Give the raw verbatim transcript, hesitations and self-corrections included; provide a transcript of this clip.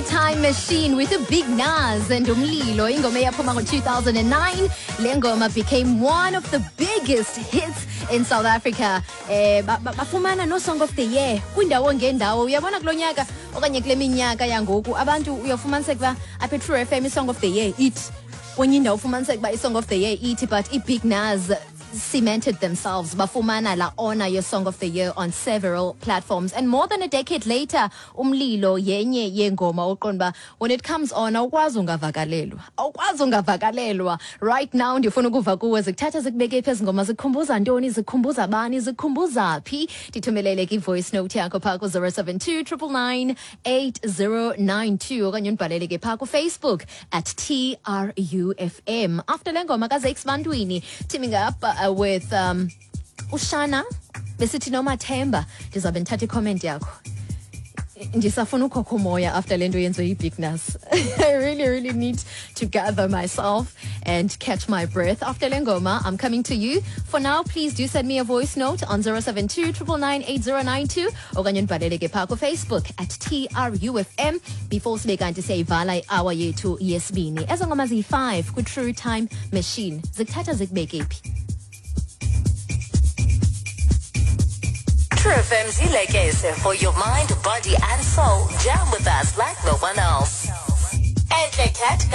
Time Machine with a Big Nuz and Umlilo. Ingoma eyaphuma ngo-two thousand nine. Le ngoma became one of the biggest hits in South Africa. Eh ba- ba- bafumana no Song of the Year kwindawo ngendawo. Uyabona kulo nyaka okanye kule minyaka yangoku, abantu uyofumaniseka uba apha e-True F M i-Song of the Year ithi kwenye indawo, ufumaniseka uba i-Song of the Year ithi, but i-Big Nuz cemented themselves, bafumana la honor ye Song of the Year on several platforms. And more than a decade later, Umlilo yenye yengoma oqonda uba when it comes on, awukwazi ungavakalelwa, awukwazi ungavakalelwa. Right now ndifuna ukuva kuwe, zikuthatha zikubeke phi ezi ngoma? Zikukhumbuza ntoni? Zikukhumbuza bani? Zikukhumbuza phi? Ndithumelele ke i-voice note yakho phaa ku-zero seven two nine nine nine eight zero nine two okanye undibhalele ke phaa kuFacebook at T R U F M. After le ngoma kaZakes Bantwini teaming up uh, with um, uShana besithi Nomathemba, ndizawube ndithatha i-comment yakho. Ndisafuna ukhokha umoya after le nto yenziwe yi-Big Nuz. I really, really need to gather myself and catch my breath. After le ngoma, I'm coming to you. For now, please do send me a voice note on zero seven two nine nine nine eight zero nine two okanye ndibhalele ke phaa kuFacebook at T R U F M before sibe kanti siyayivala i-hour yethu yesibini. Ezo ngoma ziyi-five kwi-True Time Machine zikuthatha zikubeke phi? True F M's Ilekese for your mind, body, and soul. Jam with us like no one else. Enhle Cat.